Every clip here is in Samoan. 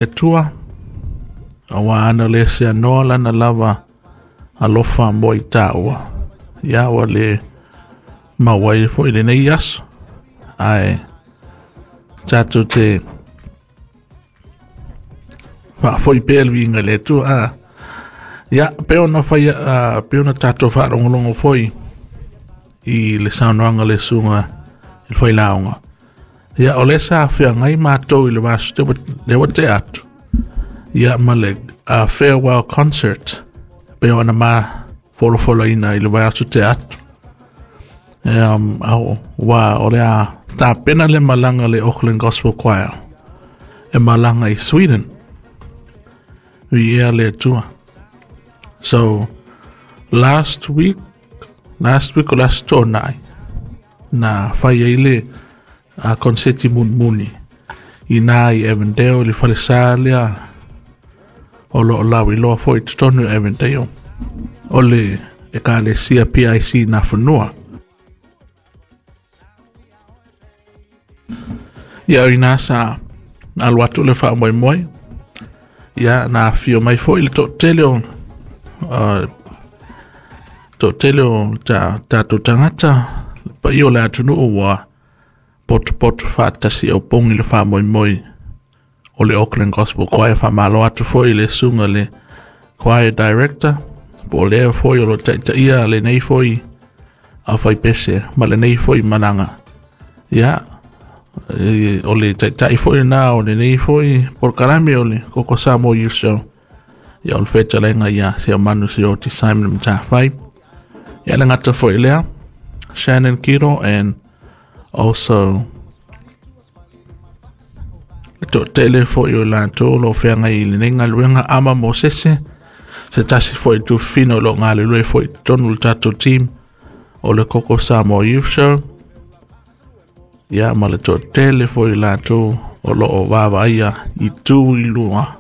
Atua, auā ana le seanoa lana lava alofa mo i tāua. Ia ua le maua ai foi lenei aso, ae tatou te faafoi pea le viiga i le Atua. Ia, pei ona fai, pei ona tatou faalogologo foi i le saunoaga a le susuga i le Failauga. Ia, o lea sa feagai matou i le vaiaso lea ua tea atu, ia ma le farewell concert, pei ona ma folafolaina i le vaiaso tea atu. Ua o le a tapena le malaga a le Auckland Gospel Choir e malaga i Sweden. Viia le Atua. So, last week o last Tuanai, na fai ai le konseti mulimuli i na i Avondale, le falesa lea o lo o lauiloa foi i totonu o Avondale, o le Ekalesia PIC Nafanua. Ia, o ina sa alu atu le faamoemoe. Ia, na afio mai foi le toatele o tatou tagata, le paia o le atunuu ua potopoto faatasi o pogi le faamoemoe o le Auckland Gospel Choir. Faamalo atu foi i le susuga le choir director, po o lea foi o lo taitaia lenei foi aufaipese ma lenei foi malaga. Ia, o le taitai foi na o lenei foi polokalame o le Koko Samoa Youth Show. Ia, o le fetalaiga ia Seumanu Sioti Simon Matafai. Ia, le gata foi lea, Shannon Kiro and also le toatele foi o latou o lo o feagai i lenei galuega, Ama Mosese, se tasi foi tufino o lo o galulue foi i totonu o le tatou team o le Koko Samoa Youth Show. Ia, ma le toatele foi o latou o lo o vaavaaia i tu i lua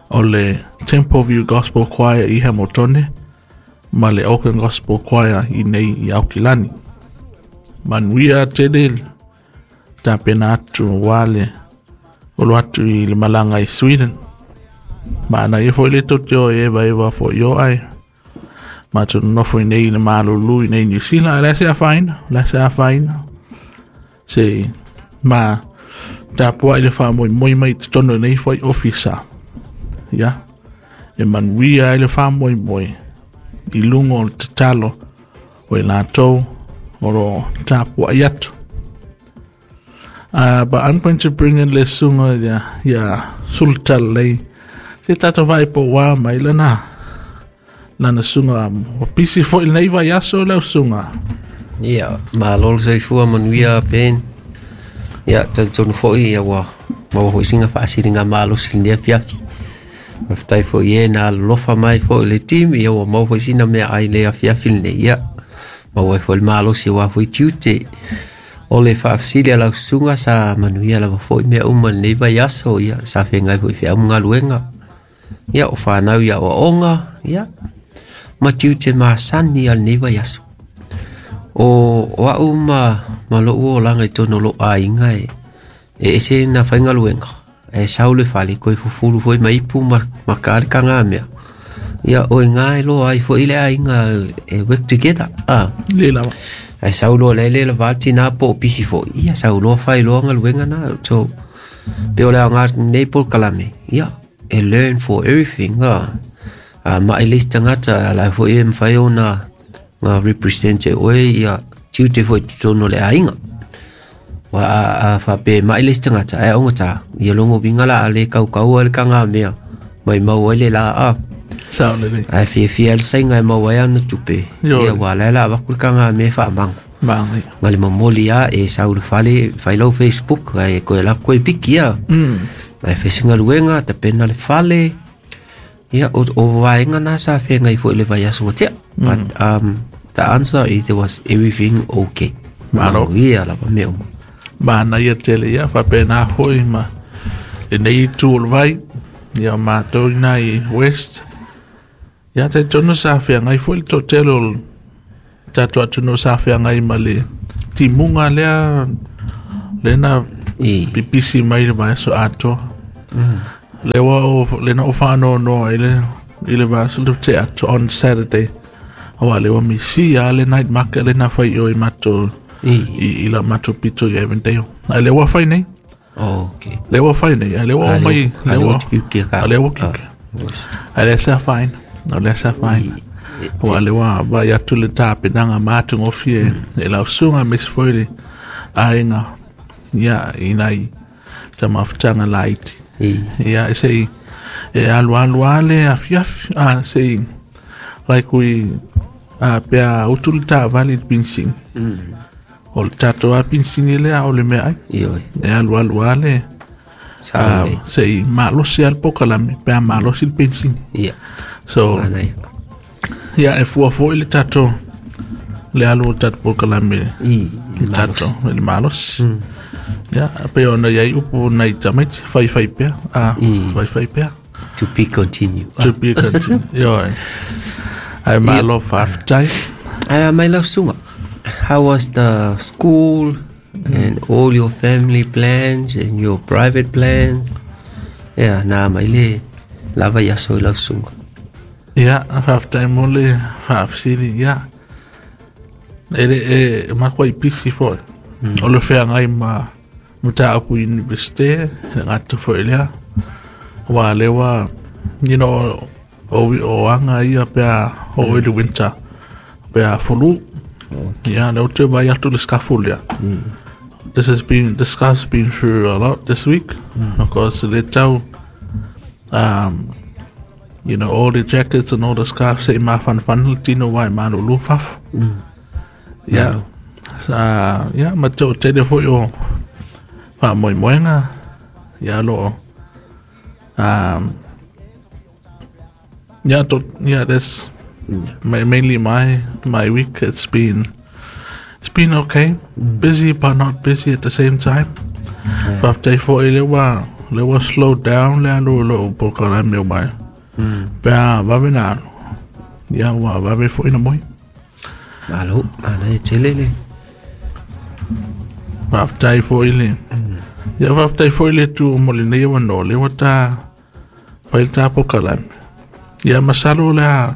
o le Temple View Gospel Choir i Hamiltone ma le Auckland Gospel Choir i nei i Aukilani. Manuia tele tapena atu ua le olo atu i le malaga i Sweden. Ma na ia foi le tou te o e eva eva foi o ai. Matou nofo i nei i le malulu i nei New Zealand, le se afaina, le se afaina. Se ma tapuai le faamoemoe mai totonu nei foi ofisa. Ia, e manuia ai le faamoemoe i luga o le tatalo o i latou o lo tapuai atu. But I'm going to bring in le susuga ia Sulutalelei. Se tatou vai po wā mai lana susuga o pisi foi lenei vaiaso lau susuga. Ia, malo le soifua manuia, Ben. Ia, talitonu foi ia ua maua foi sina faasiliga malosi i lenei afiafi. Faafetai foi e na alolofa mai foi le team, ia ua maua foi sina meaai i le afiafi lenei. Ia, maua ai foi le malosi aua foi tiute. O le faafesili a lau susuga, sa manuia lava foi mea uma i lenei vaiaso, ia sa feagai foi i feau ma galuega. Ia, o fanau i aoaoga, ia, ma tiute masani a lenei vaiaso. O au ma lou olaga i totonu o lou aiga e ese na faigaluega. E sau le fale, koe fufulu foi ma ipu ma ka le kagamea. Ia, o iga e loa ai foi le aiga e work together. Ah. Le lava. Ai sau loa le le lava tina po o pisi foi. Ia, sau loa fai loa galuega na. So, pe o le aoga nei polokalame. Ia, e learn for everything. Ah. A ma e le isi tagata ala foi e mafai ona nga represent e oe ia tiute foi i totonu o le aiga. Wa a faapea e mai le isi tagata ae augata ia logo uiga la a le kaukaua le kagamea mai mau ai le la a. Sao lelei. Ae fiafia le saiga e maua ai ana tupe. Ioe. Ia ua la la avaku le kagamea faamago. Magai. Ma le momoli a e sau i le fale fai lau Facebook ae koe la koe piki ia. Ae fai se galuega tapena le fale. Ia o vaega na sa feagai foi i le vaiaso ua tea. But the answer is there was everything okay. Malo. Manuia lava mea uma. Manaia tele ia faapena foi ma lenei itu o le vai. Ia matou ina i West. Ia talitonu sa feagai foi le toatele o le tatou atunuu sa feagai ma le timuga lea lena I. pipisi mai le vaiaso atoa. Le ua o le na o whaanoanoa i le vasa le te atu on Saturday. Aua le ua misi a le night market le na whai o i mato i la mato pito i Avondale. Ai le ua whai nei. Oh, okay. Le ua whai nei. Ai le ua o mai. Le ua kiukia ka. Le ua kiukia. Ai le sa fine. O le sa fine. Ua le ua vai atu le tāpenanga mātu ngofi e lau sunga mes foi le ainga. Ia inai ta mafutanga laiti. Ia e sei e alu alu ale afiafi a sei like we a pea utu le tāvali le pinsing. O le tātou a pinsing le a o le mea ai. E alu alu ale sei malosi al pokalame pea malosi le pinsing. So ia e fua foi le tātou le alu o le tātou pokalame le tātou le malosi. Ia pe ona iai upu nai tamaiti whai whai pea a whai whai pea. To be continue. To be continue. Ioe. Ai malo whaftai. Ai mai lau sunga. How was the school and all your family plans and your private plans? Yeah, nā mai le lava ia so i lau sunga. Ia, whaftai mo le whafsiri, ia. Ere e makua i pisi foi. O le whea ngai ma mata apu universite, le ngata foi lea. Wa lewa, you know, o anga ia pea o i le winter, pea fulu. Yeah, le ote vai atu le scaffold lea. This has been through a lot this week. Because le tau, you know, all the jackets and all the scarves se ma fan fan le tino wai manu lu faf. Yeah. Yeah, ma tau tele foi o wha moi moenga. Yeah, lo. Yeah, yeah, that's mainly my week. It's been okay. Busy but not busy at the same time. But day for le wa slow down le alu lo pokalame me mai. Pea vave na. Ia wa vave foi na moi. Malo, mana e tele le. Waftai foi le. Ia waftai foi le tu mo le nei wa no le wa ta fail ta pokalame. Ia masalo le a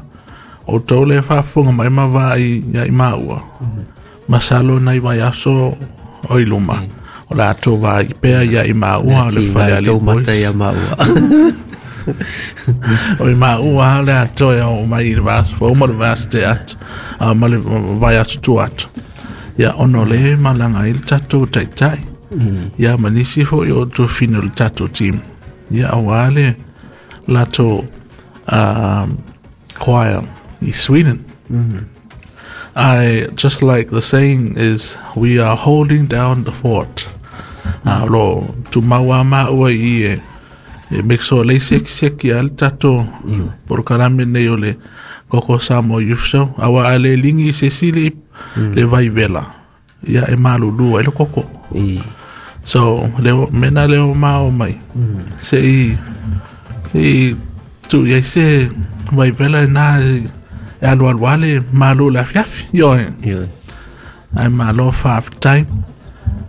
o tau le whaafunga mai ma vai ia i maua. Masalo nei vai aso o i luma. O la ato vai pea ia i maua le whale ali boys. Mata ia maua. O i maua le ato ia o mai i le vas. Fo ma le vas te atu. A ma le vai atu tu atu. Ia ono le malanga i le tatou taitai. Ia manisi foi o tu fino le tatou team. Ia awa le lato choir in Sweden. I just like the saying is, we are holding down the fort. Lo tu maua maua i e make sure le sek ia le tatou porokalame nei o le Koko Samoa Youth Show. Awa ale lingi se sili le vai vela. Ia e malulu ai le koko. So leo mena leo mao mai. Se i tu ia se vai vela na e alu alu ale malu la fiafi. Ioe. Ai malo whaftai.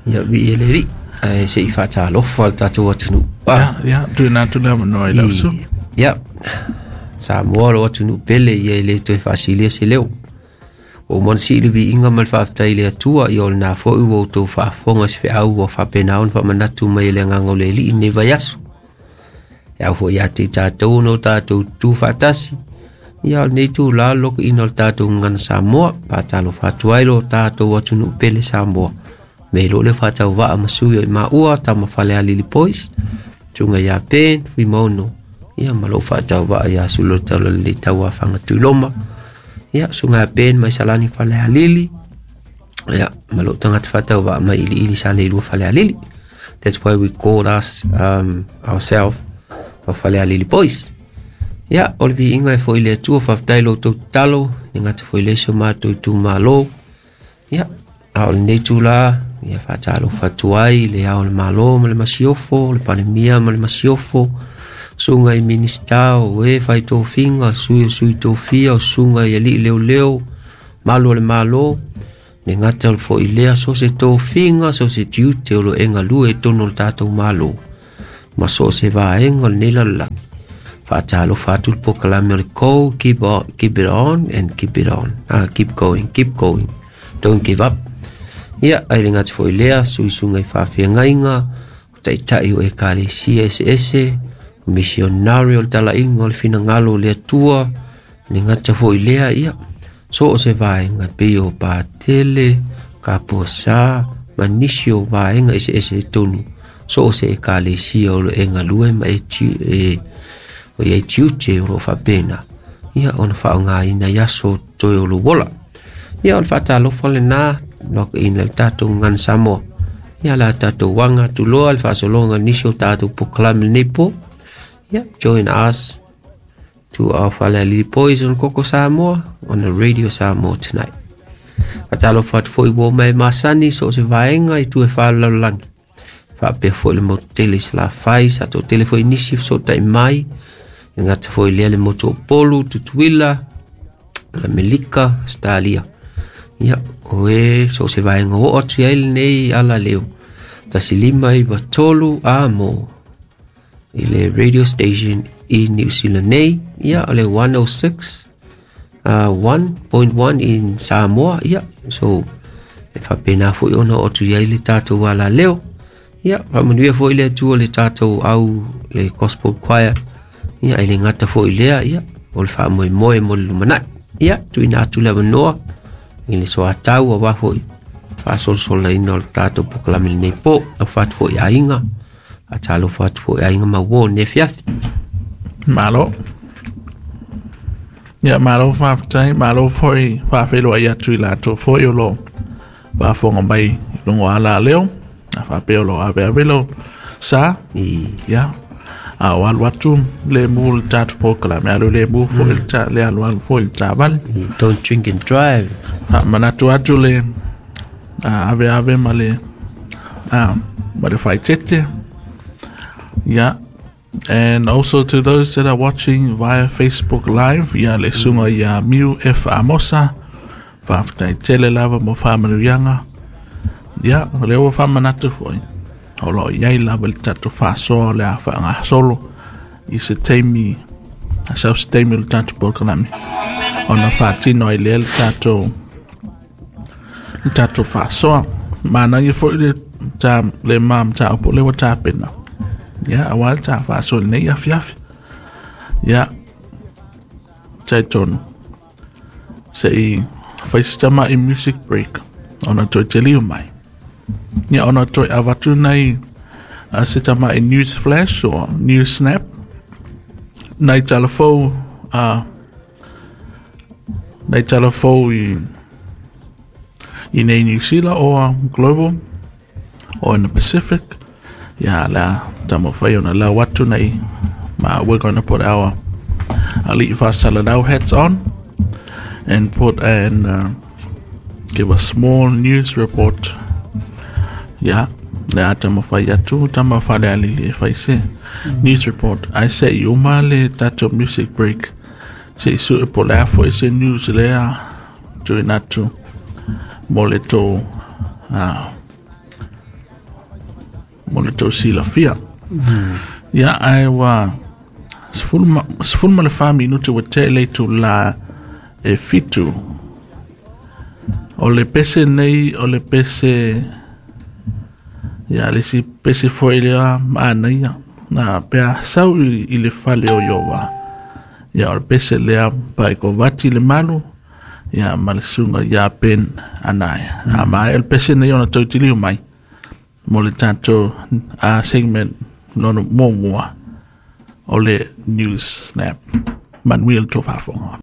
Ia vi ele ri. Ai se i whatalofa le tātou atunu. Ia, tu nā tu lea manoa i lausu. Ia. Samoa lo atunu pele ia i le toe whaasilia se leo. O mon si le vi inga ma le whaaftai le atua i o le nā foi ua tau whaafonga se wheau ua whapenaon whamanatu mai le nganga o le li i ne vai aso. E au foi ia te tātou no tātou tū whaatasi. Ia o nei tū la loko ina o le tātou ngana Samoa. Pātalo whatuai lo tātou atunu pele Samoa. Me lo le whatau waa masui o i maua tama whale alili pois. Tunga ia pen, fui mauno. Ia malo whatau waa ia sulo tau le taua whanga tūloma. Ia sunga pen mai salani whale alili. Ia malo tangata whatau waa mai ili ili sa le lua whale alili. That's why we call us ourselves o whale alili pois. Ia o le vi inga e fo ile atua whaftai lo tau talo. Ni ngata fo ile so mātou tū malo. Ia a o le nei tū la. Ia whatalo whatuai le ao le malo ma le masiofo, le panemia ma le masiofo, sunga i minista o e whai tōwhinga, sui o sui tōwhia, o sunga i ali leo leo, malo le malo, ne ngata o le fo i lea so se tōwhinga, so se tiute o lo enga lue tono le tātou malo. Ma so o se vaega o lenei lalolagi. Faatalofa atu le polokalame o le Go, keep on, keep it on and keep it on. Keep going, keep going. Don't give up. Ia, ai le gata foi lea, suisuga i faafeagaiga, o taitai o ekalesia eseese, o missionary o le talaiga o le finagalo o le Atua, le gata foi lea, ia, so o se vaega pei o patele, kapuasā, ma nisi o vaega eseese i totonu, so o se ekalesia o lo e galue ma e, e o iai tiute o loo faapena, ia ona faaaogaina i aso toe o lou ola. Ia o le faatalofa lenā lokaina le tatou gagana Samoa. Ia la tatou aga atu loa le faasologa nisi o tatou polokalame lenei po. Ia join us to our Falealili Boys on Koko Samoa on the Radio Samoa tonight. Faatalofa atu foi ua mai masani so o se vaega i tu e whalalaulangi. Faapea foi le motu tele i Salafai, sa toatele foi nisi fesootai mai, e gata foi lea le motu o Upolu, Tutuila, Amerika, Australia. Ia, o e so o se vaega oo atu i ai lenei ala leo. 1 5 9 3 a mo i le radio station i New Zealand nei, ia o le 106 1.1 in Samoa, ia so e faapena foi ona oo atu i ai le tatou ala leo. Ia faamanuia foi le Atua le tatou au le gospel choir. Ia e le gata foi lea, ia o le faamoemoe mo le lumanai. Ia tuuina atu le avanoa i le soatau auā foi faasolosolaina o le tatou polokalame lenei po. Alofa atu foi aiga, faatalofa atu foi aiga ma uō lenei afiafi. Malo. Ia, malo faafetai, malo foi faafeiloai atu i latou foi o lo faafofoga mai i luga o ala leo. A faapea o lo aveave lo sa. Ia, a o alu atu le mu le tatou polokalame, alu le mu foi le ta, le alu alu foi le taavale. Don't drink and drive. Manatu atu le ave ave ma le ma le faitete. Yeah. And also to those that are watching via Facebook Live, ia le sunga ia Miu F. Amosa, faafetai tele lava mo faamanuiaga. Ia, o lea ua faamanatu foi. O lo o iai lava le tatou faasoa o le a faagasolo i se taimi, a sau se taimi o le tatou polokalame. Ona faatino ai lea le tatou faasoa. Manaia foi le ta le ma mataupu lea ua tapena. Ia, auā le ta faasoa lenei afiafi. Ia, talitonu. Se i fai se tama'i music break ona toe teliu mai. Ia, ona toe avatu nei se tama'i news flash or news snap. Nai talafou nai talafou i nei New Zealand or global or in the Pacific. Ya la taumafai ona lau atu nei ma we're going to put our Ali'i Faasalalau hats on and put and give a small news report. Ya, le a taumafai atu tama Falealili e fai se news report. Ai se i uma le tatou music break. Se i sue po le a foi se news lea tuuina atu mo le tou mo le tou silafia. Ia, ae ua 14 minute ua tea i le itulā e 7. O le pese nei, o le pese, ia, le isi pese foi lea manaia. Na pe a sau i le fale o Ieova. Ia, o le pese lea pae kovati le malu, ia, ma le susuga ia Ben Anaia. A ma o le pese nei ona toe tiliu mai mo le tatou segment lona muamua o le news snap. Manuia le tou faafofoga.